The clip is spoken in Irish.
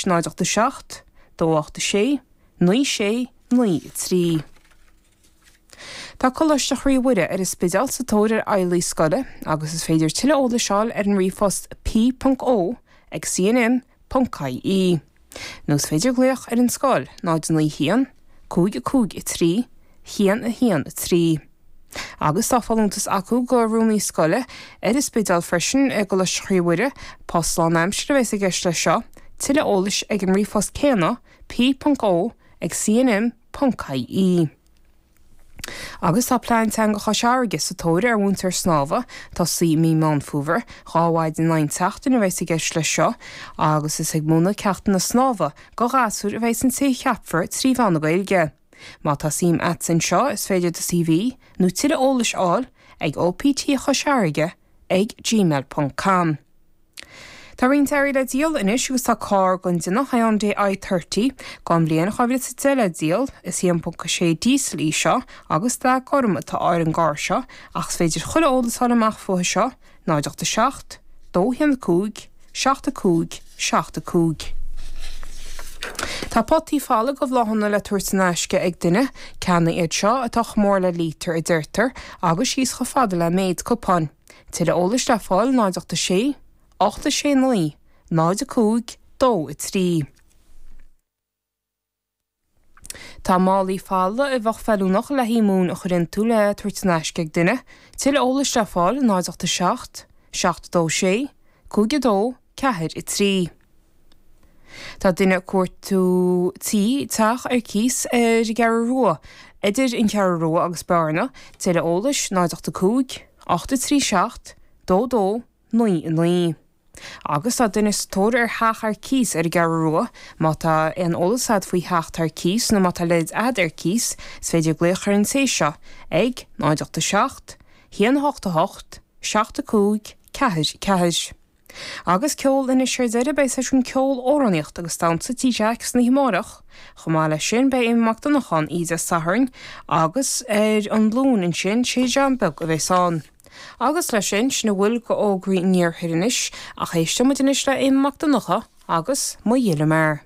0 8 7 2 8 6 9 6 9 3. Tá Coláiste Chroí Mhuire ar an Spidéal sa tóir ar fheighlí scoile agus is féidir tuilleadh eolais a fháil ar an ríomhphost p.o ag cnm.ie nó is féidir glaoch ar an scoil 0 9 1 5 5 3 1 1 3. Agus tá folúntas acu do rúnaí scoile ar an Spidéal freisin i gColáiste Chroí Mhuire, post lánaimsire a bheas i gceist leis seo, tuilleadh eolais ag an ríomhphost céanna p.o ag cnm. Ponc ie. Agus tá Plean Teanga Chois Fharraige sa tóir ar mhúinteoir snámha, tosaí i mí Meán Fómhair, 2 mhaidin in aghaidh na seachtaine a bheas i gceist leis seo, agus is ag múineadh ceachtanna snámha go ghasúir a bheas an té a cheapfar trí mheán na Gaeilge. Má tá suim a'dsa anseo is féidir do CV nó tuilleadh eolais a fháil ag OPT Chois Fharraige ag gmail ponc com. Tá roinnt earraí le díol anois agus tá carr den déanamh Hyundai i30 den bhliain 2010 le díol. Is 1.6 diesel í seo agus dath gorm atá ar an gcarr seo ach is féidir chuile eolas a fháil amach fúithi seo, 0 8 7 2 1 5 7 5 7 5. Tá potaí folamh de bhláthanna le tabhairt in aisce ag duine, ceanna iad seo atá chomh mór le lítear a deirtear agus síos chomh fada le méid cupáin. Tuilleadh eolais le fáil 0 8 6 8 6 9 0 5 2 3. Tá málaí folamh a bheadh feiliúnach le haghaidh móin a chur iontu le tabhairt in aisce ag duine. Tuilleadh eolais le fáil 0 8 7 7 2 6 5 2 4 3. Tá duine ag cuartú tí, teach ar cíos ar an gCeathrú Rua, idir an Cheathrú Rua agus Bearna, tuilleadh eolais 0 8 5 8 3 7 2 2 9 9. Agus tá duine sa tóir ar theach ar cíos ar an gCeathrú Rua, má tá aon eolas a'd faoi theach atá ar cíos nó má tá a leithéid a'd ar cíos, is féidir glaoch ar an té seo ag 0 8 7 1 8 8 7 5 4 4. Agus ceol anois ar deireadh, beidh seisiún ceoil, amhránaíocht agus damhsa Tí Jack san oíche amárach. Chomh maith leis sin beidh Éamonn Mac Donncha ann oíche Dé Sathairn agus ar an Luan ansin sé John Beag a bheas ann. Agus leis sin, sin a bhfuil go fhógraí an iarthair anois, ach éisteoidh muid anois le Éamonn Mac Donncha agus Mo Ghile Mear.